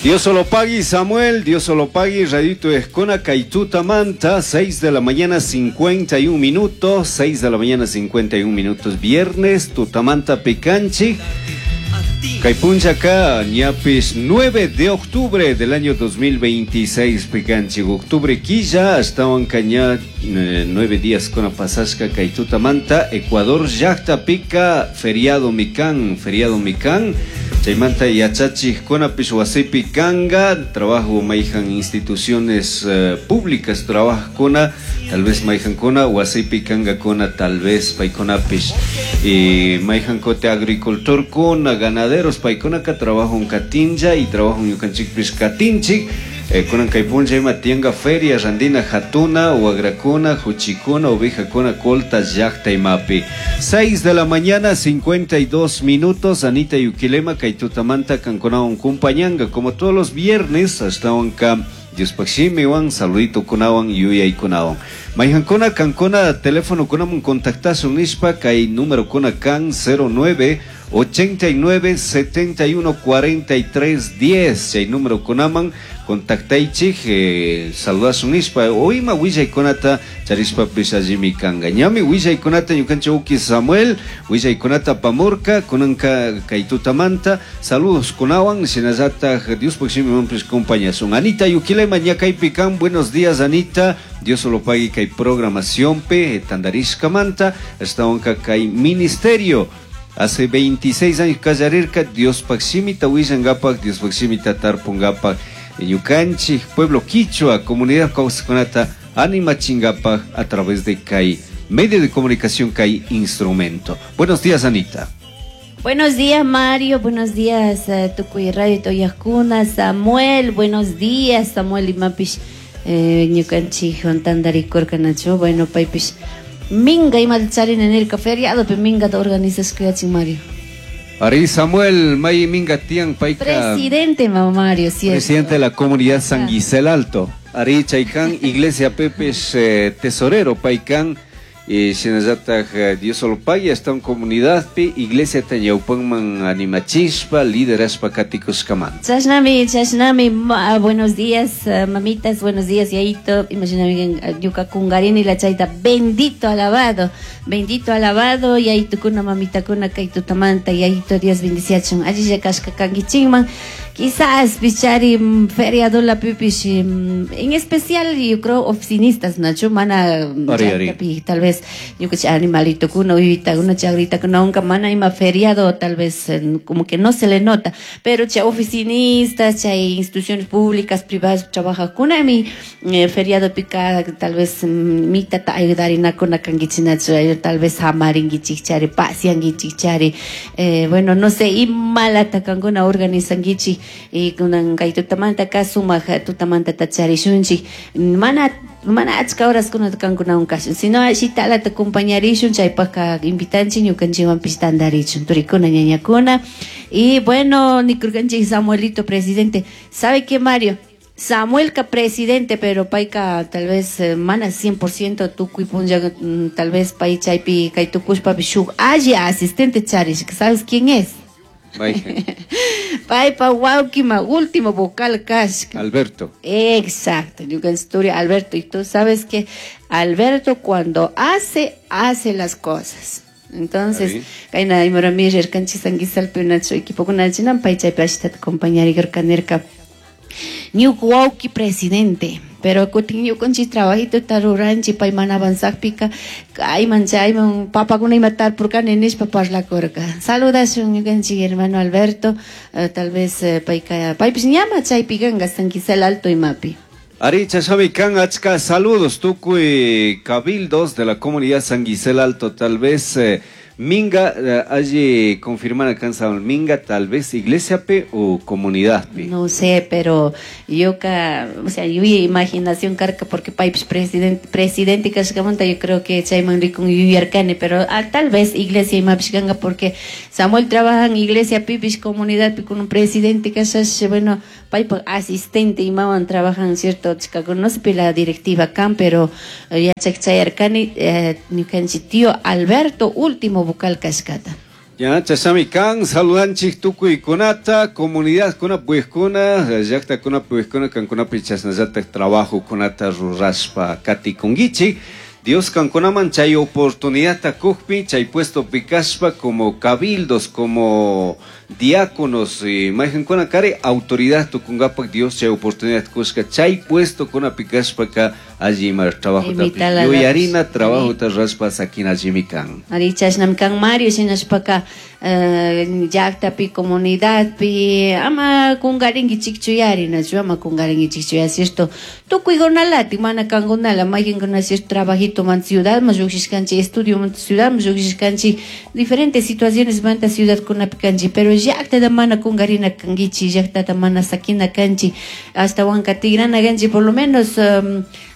Dios solo pagui, Samuel, Dios solo pagui, Radito Escona, Caituta Manta, 6 de la mañana 51 minutos, 6 de la mañana 51 minutos, viernes, Tutamanta Picanchi, Caipunchaca, ñapis 9 de octubre del año 2026, Picanchi, octubre quilla, hasta caña 9 días con pasasca, Caituta Manta, Ecuador, Yacta Pica, feriado Micán, feriado Micán. Chaymanta yachachikkunapish wasipi kanga, trabajo mayhan instituciones públicas trabajkuna, tal vez mayhankuna wasipi kangakuna, tal vez paykunapish y mayhankuti agricultorkuna, ganaderos paykunaka trabajo katinlla y trabajo ñukanchikpish katinchik. Kunan kay punlla ima tiyanka feria randina hatuna, wagrakuna, huchikuna, ovejakuna, colta llaqta imapi. 6 de la mañana, 52 minutos, Anita Yuquilema, kay tutamanta kankunawan kumpañanga, como todos los viernes, hasta wanka Diospaq shimiwan, saludito kunawan, yuyaykunawan. Mayhankuna kankuna teléfono kunamun contactasun nishpa, kay número kuna kan 09 89 71 43 10. Chay número kunaman contactaychik, saludasun nishpa, o ima willaykunata charishpapis allimi kanka. Ñami willaykunata ñukanchik uki Samuel, willaykunata pamurka, kunanka kay tutamanta, saludos kunawan, shinallataj Diospaq shimiwanpis compañasun. Anita Yuquilema ñakaypi kan, buenos días Anita, Dios solo pague kay programación pe, tandarishkamanta, ashtawanka kay ministerio. Hace 26 años kallarirka, Diospaq shimita willankapak, Diospaq shimita tarpunkapak, ñukanchik pueblo quichua, comunidad kawsaqkunata animachinkapak a través de kay medio de comunicación, kay instrumento. Buenos días, Anita. Buenos días, Mario. Buenos días, tukuy radio toyajkuna. Samuel, buenos días, Samuel imapish, ñukanchik tantarikurkanachu. Bueno, paypish minga imata charina nirka feriado pe mingata organizashkayachin, Mario. Ari Samuel, may minga tiyan payka. Presidente, mamá Mario, cierto. Presidente de la comunidad San Gisel Alto. Ari Chaykan, Iglesia Pepes, tesorero paykan. Y shinallataj, Dios solo pague hasta un comunidad pi, iglesia tañaupanman animachispa, lideraspa katikushkaman. Chashnami, chashnami, buenos días, mamitas, buenos días, yaito. Imagíname, ñuka kungarini la chayta, bendito alabado, bendito alabado, yaito kuna, mamita kuna, kay tutamanta, yaito, Dios bendiciachun. Allí ya kashka kangichingman. Quizás pichari, feriado la pipish, en especial yo creo oficinistas, Nacho, mana, Ari, ari. pi, tal vez yo que animalito kuno, uyita, una chagrita kuno, nunca mana ima feriado, tal vez, como que no se le nota, pero cha oficinistas, cha instituciones públicas, privadas, trabaja kuna mi, feriado pica, tal vez, mi tata ayudarina kuna kangichinacho, tal vez hamaringichichari, pasiangichichari, bueno, no sé, y malata kanguna organizangichi, y kunan kay tutamanta ka sumaq tutamanta tacharishunchik, mana, mana achka horas kunata kankunawan kashun, sino shitalata acompañarishun, chaypajka invitanchik ñukanchikwanpish tantarichun, turikuna, ñañakuna. Y bueno, nikurkanchik Samuelito presidente. ¿Sabe qué, Mario? Samuelka presidente, pero payka tal vez, mana 100% tukuy punlla, tal vez pay chaypi kay tukushpapish shuk alli asistente charish, ¿sabes quién es? Mayhan. Paypa wawkima, último vocal kashka. Alberto. Exacto, ñukanchik Alberto. Y tú sabes que Alberto cuando hace, hace las cosas. Entonces, Ari. kayna imorami rirkanchik San Guisalpi nacho equipo kunachinan, pay chaypi ashitata acompañarikirka nirka. Ñuka wawki presidente, pero kutin ñukanchik trabajito taruranchik, pay mana avanzakpika, kayman chayman papakuna ima tarpurkani nishpa parlakurka. Saludashun ñukanchik hermano Alberto, tal vez, payka, paypish ñama chaypi kanka San Gisel Alto imapi. Ari chashami kan achka saludos tukuy cabildos de la comunidad San Gisel Alto, tal vez, minga, allí confirman acá en San Minga, tal vez iglesia pe o comunidad pe. No sé, pero yo ca, o sea, yo imaginación carca porque pipes presidente, presidente kashkamanta, yo creo que chayman rikun yuyarkani, pero, tal vez iglesia imapishkanga porque Samuel trabaja en iglesia pipish comunidad pi con un presidente kashash, bueno, paipa asistente imawan trabajan cierto chica, no sé pi la directiva kan, pero, ya chayarkani, ñukanchik tío Alberto último vocal kashkata. Ya, chashami kan saludanchik tukuykunata, comunidadkuna puyikkuna, llaktakuna puyikkuna, kankunapi chashnallatak trabajokunata rurashpa katikunkichik. Dios kankunaman chay oportunidadta kukpi, chay puestopi kashpa como cabildos, como diáconos, y mayqankuna kari autoridad tukunkapak Dios chay oportunidad kushka, chay puestokunapi kashpaka alli ima trabajota yuyarina, trabajota rashpa sakina allimi kan. Ari chashnami kan Mario, shinashpaka llaktapi, comunidadpi, ama kunkarinkichikchu yari, nachu ama kunkarinkichikchu ya, cierto, tukuykunalati, mana kankunala, mayqankuna cierto trabajito man ciudadman llukshishkanchik, estudio man ciudadman llukshishkanchik, diferentes situaciones manta ciudadkunapi kanchik, pero llaktata mana kunkarina kankichik, llaktata mana sakina kanchik, ashtawanka tigrana kanchik, por lo menos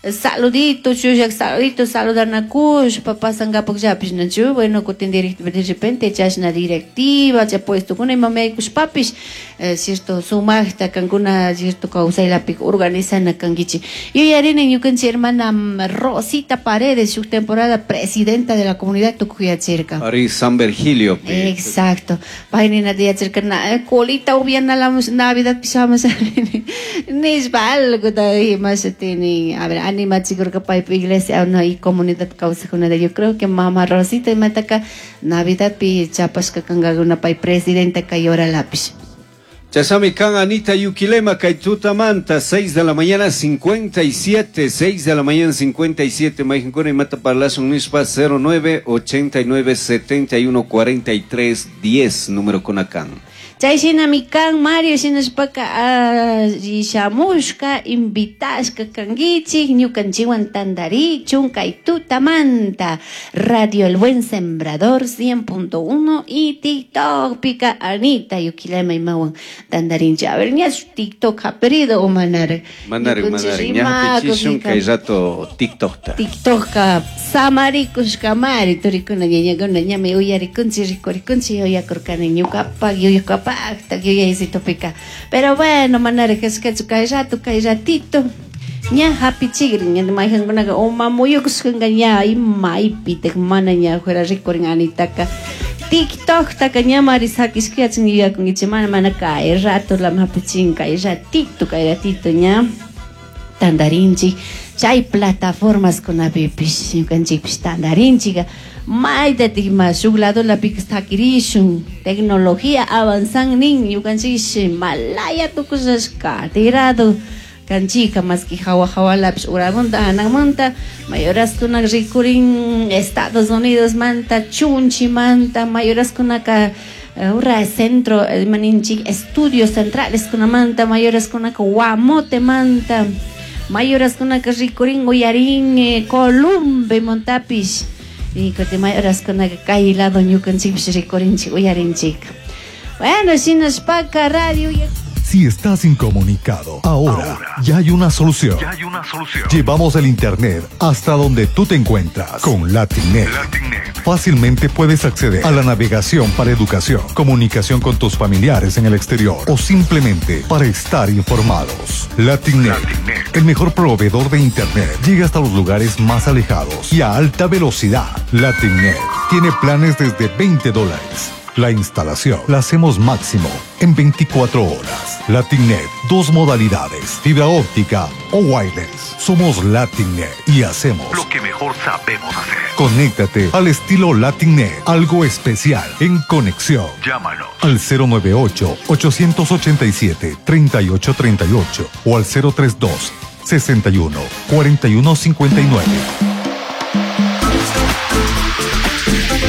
saludito, chushak saludito, saludanakushpa pasankapak llapish, nachu, bueno, kutin de repente chashna directiva, chay puestokuna imami yaykushpapish, cierto, sumakta kankuna, cierto, kawsaylapi organizana kankichik. Yuyarini ñukanchik hermana Rosita Paredes, shuk temporada presidenta de la comunidad tukuyachirka. Ari San Virgilio. Exacto. Pay ninata yachirka, na, colita upianala Navidad pishamas nishpa algo da imashatini. A ver, animachikurka paypa iglesia no, y comunidad kawsajkunata. Yo creo que mama Rosita imataka Navidadpi chapashka kankakuna pay presidenta kay horalapish. Chasami kan Anita Yuquilema, kay tutamanta, 6 de la mañana 57, 6 de la mañana 57, mayqankuna imata parlashun nishpa 09 89 71 43 10, número kunakan. Chay shinami kan Mario, shinashpaka shamushka, invitashka kankichik, ñukanchikwan tantarichun kay tutamanta, Radio El Buen Sembrador 100.1 y TikTok pika Anita Yuquilema imawan tantarinchik. A ver, ña TikTok haperido o manara. Manara, Ñukanchik manara, ña hapichishun kay rato TikTokta. TikTokka samarikushkamari, turikuna ñañakuna ñami uyarikunchik, rikurikunchik, yuyakurkani ñukapak, yuyakapakta, yuyaysitopika. Pero bueno, manara kashkachu kay rato, kay ratito. Ña hapichikrin, ña mayqankunaka uma muyukushkanka ña imaypitak mana ña fuera rikurin Anitaka. TikToktaka ñamari sakishkayachin yuyakunkichik, mana, mana kay rato lama hapichin, kay ratito, kay ratito ña tantarinchik. Chay plataformas kunapipish ñukanchikpish tantarinchik. Maytatik ima shuk ladolapika sakirishun, tecnología avanzan nin, ñukanchik malaya tukushashka, tirado kanchika, maski hawa hawalapish uramanta, hanamanta, mayoraskunaka rikurin Estados Unidos manta, chunchimanta, mayoraskunaka ura centro, maninchik estudios centrales kunamanta, mayoraskunaka Guamote manta, mayoraskunaka rikurin uyarin Columbe montapish, y kutin mayoraskunaka kay lado ñukanchikpish rikurinchik uyarinchik. Bueno, shinashpaka radio ya. Si estás incomunicado, ahora ya hay una solución. Ya hay una solución. Llevamos el internet hasta donde tú te encuentras con Latinet. Latinet. Fácilmente puedes acceder a la navegación para educación, comunicación con tus familiares en el exterior o simplemente para estar informados. Latinet, Latinet. el mejor proveedor de internet, llega hasta los lugares más alejados y a alta velocidad. Latinet tiene planes desde veinte dólares. La instalación la hacemos máximo en 24 horas. Latinet, dos modalidades, fibra óptica o wireless. Somos Latinet y hacemos lo que mejor sabemos hacer. Conéctate al estilo Latinet, algo especial en conexión. Llámanos al cero nueve ocho, ochocientos ochenta y siete, treinta y ocho treinta y ocho o al cero tres dos, sesenta y uno, cuarenta y uno cincuenta y nueve.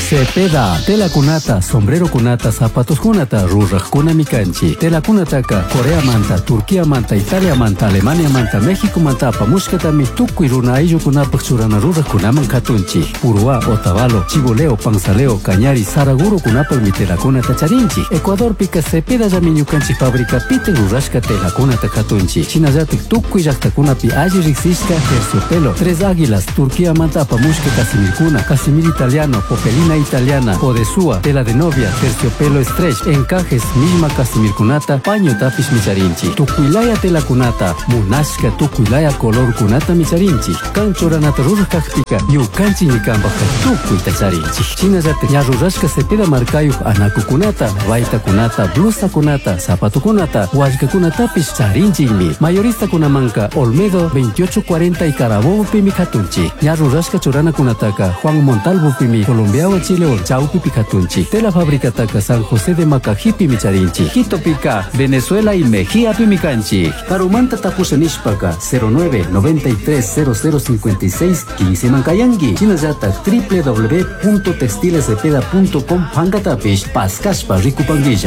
Cepeda, tela kunata, sombrero kunata, zapatos kunata, ruraj kunami kanchi. Tela kunataka, Corea manta, Turquía manta, Italia manta, Alemania manta, México manta, apamushkatami, tukuy runa ayllu kunapaj churana ruraj kunaman katunchi. Uruá, Otavalo, Chiboleo, Panzaleo, Cañari, Saraguro kunapaj mi tela kunata charinchi. Ecuador pika Cepeda llami ñukanchi fábrica pite rurashka tela kunata katunchi. Shinallatik tukuy llaktakunapi alli riksishka terciopelo, Tres Águilas, Turquía manta, apamushka Casimirkuna, Casimir italiano, Popelina italiana, podesúa, tela de novia, terciopelo stretch, encajes, millma casimirkunata, pañotapish micharinchik. Tukuylaya telakunata, munashka tukuylaya colorkunatami charinchik. Kan churanata ruraj kakpika, ñukanchikmi kanpajka tukuyta charinchik. Shinallatak ña rurashka Cepeda markayuq anakukunata, baytakunata, blusakunata, zapatokunata, wallkakunatapish charinchikmi. Mayoristakunamanka Olmedo 2840 y Carabobopimi katunchik. Ña rurashka churanakunataka Juan Montalvopimi Colombiawan Chilewan chawpipi katunchik. Tela fabricataka San José de Macajipimi charinchik. Quitopika, Venezuela y Mejíapimi kanchik. Karumanta tapusha nishpaka 09 93 0056 15 mankayanki. Shinallatak www.textilescepeda.com pankatapish paskashpa rikupankilla.